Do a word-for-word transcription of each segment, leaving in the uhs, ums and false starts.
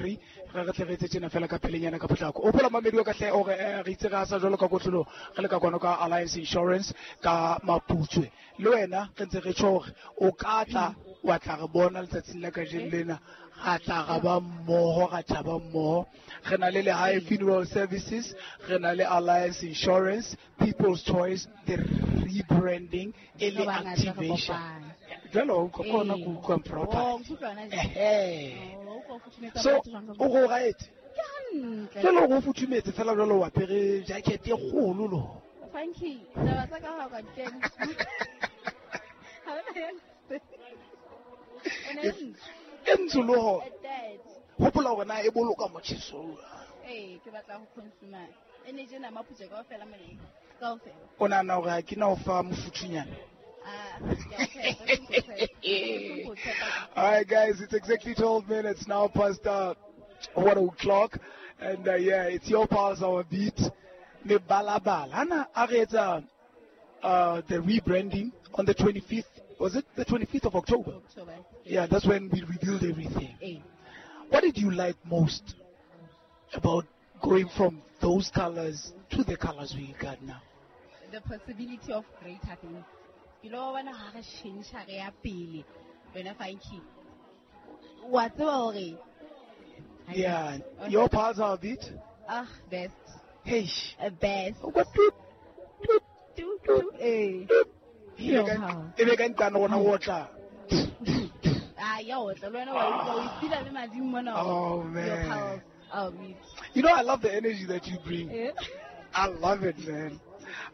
three. Re re tle re etse tjena fela ka pelenyana ka potlako. O phola mamedi wa ka hle ore re itse re sa jwalo ka kotlolo re le ka kwano ka Alliance Insurance ka Maputswe. Le wena re ntse re tjho hore o ka tla wa tla re bona letsatsing la kajeno lena. Ra tla ra ba mmoho, ra thaba mmoho. Re na le Lehae Funeral Services, re na le Alliance Insurance, People's Choice, the rebranding e le activation. Jwalo o kgona go utlwa proper. Ehe. So o go right. Jwalo go futhumetse fela jwalo wa apere jacket e kgolo lo. Funky, taba tsa ka ha ka kena. Ha ona. E ntsho le ho. Hopola hore na e boloka motjheso. Eh, ke batla ho consumer. Energy na Maputswe kaofela mane. Kaofela. O nahana hore ha ke na o fa mofuthunyana? Ah, All right, guys, it's exactly twelve minutes now past uh, one o'clock. And uh, yeah, it's your pulse, our beat. Me balabala. Hana a re etsa uh, the rebranding on the twenty-fifth. Was it the twenty-fifth of October? October. Yeah, that's when we revealed everything. Hey. What did you like most about going from those colors to the colors we got now? The possibility of greater things. You know, when I change re pele, wena Funky. Wa tseba hore? Yeah, your parts are a bit. Ah, best. Hey. Uh, best. What toot toot toot toot. Eh. E be ka ntlana gona go otla. Ah, ya otla le wena wa o ipila le madimo mona. Oh man. Oh, you know, I love the energy that you bring. Yeah. I love it, man.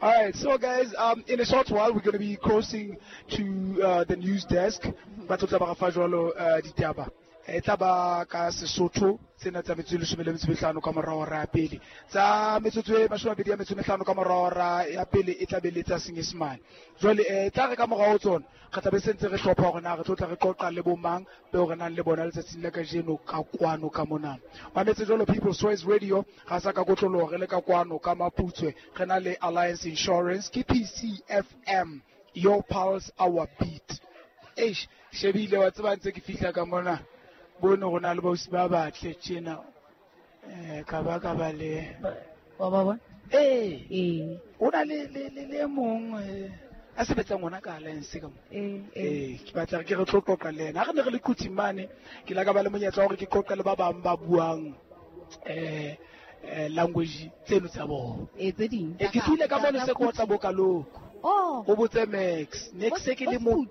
All right, so guys, um, in a short while we're going to be crossing to uh, the news desk. Ba tlo tla ba fa jwalo ditaba. E tla ba ka Sesotho tsena tsa metsotso e leshome le metso e mehlano ka morao hora ya pele. Tsa metsotso e mashome a mabedi a metso e mehlano ka morao hora ya pele e tla be le tsa Senyesemane. Jwale eh tla re ka morao tsona re tla be sentse re hlopha hore na re tlo tla re qoqa le bomang beo re nang le bona letsatsing la kajeno ka kwano ka mona. Mametse jwalo People's Choice Radio ga sa ka kotloloho re le ka kwano ka Maputswe re na le Alliance Insurance ke P C F M, your pulse our beat. Eish shebile wa tseba ntse ke fihla ka mona. Bone go na le bausi ba batle tjena eh ka ba ka ba le wa ba bona eh eh o na le le le mong a sebetsang ona ka Alliance ka mo eh eh ke batla ke re tlo qoqa le yena ha re ne re le Quthing mane ke la ka ba le monyetla hore ke qoqe le ba bang ba buang eh language tseno tsa bona eh tse ding e ke tsile ka mone se kotla bokaloko oh o botse Max next se ke le mo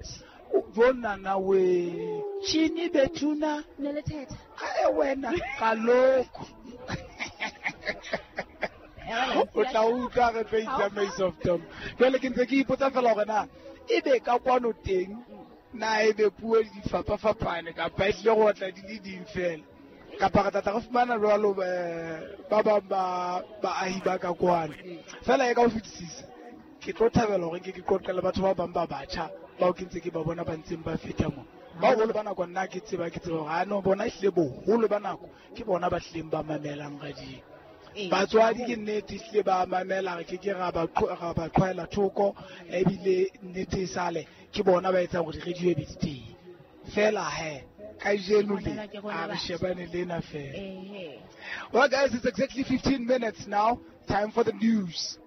Jona na we chini betuna ne le thetha a wena kaloko o tla utlwa re tlo itsamaisa of them jwale ke ntse ke ipotsa fela hore na ebe ka kwano teng na ebe puo di fapafapane kapa e tlile go otla di le ding fela kapa re tla re fumana jwalo ba bang ba baahi ba ka kwano fela e ka ho fetisisa ke tlo thabela hore ke ke qoqele batho ba bang ba batjha bao ke ntse ke ba bona ba ntseng ba feta mo ba boholo ba nako nna ke tseba ke tseba hore ha no bona ehlile boholo ba nako ke bona ba hlileng ba mamelang radio. Batswadi ke nnete ehlile ba mamela re ke ke ra ba ra ba qhwaela thoko ebile nnete e sale ke bona ba etsang hore radio e be teng fela he kajeno le a re shebane le ena fela. Well guys, it's exactly fifteen minutes now, time for the news.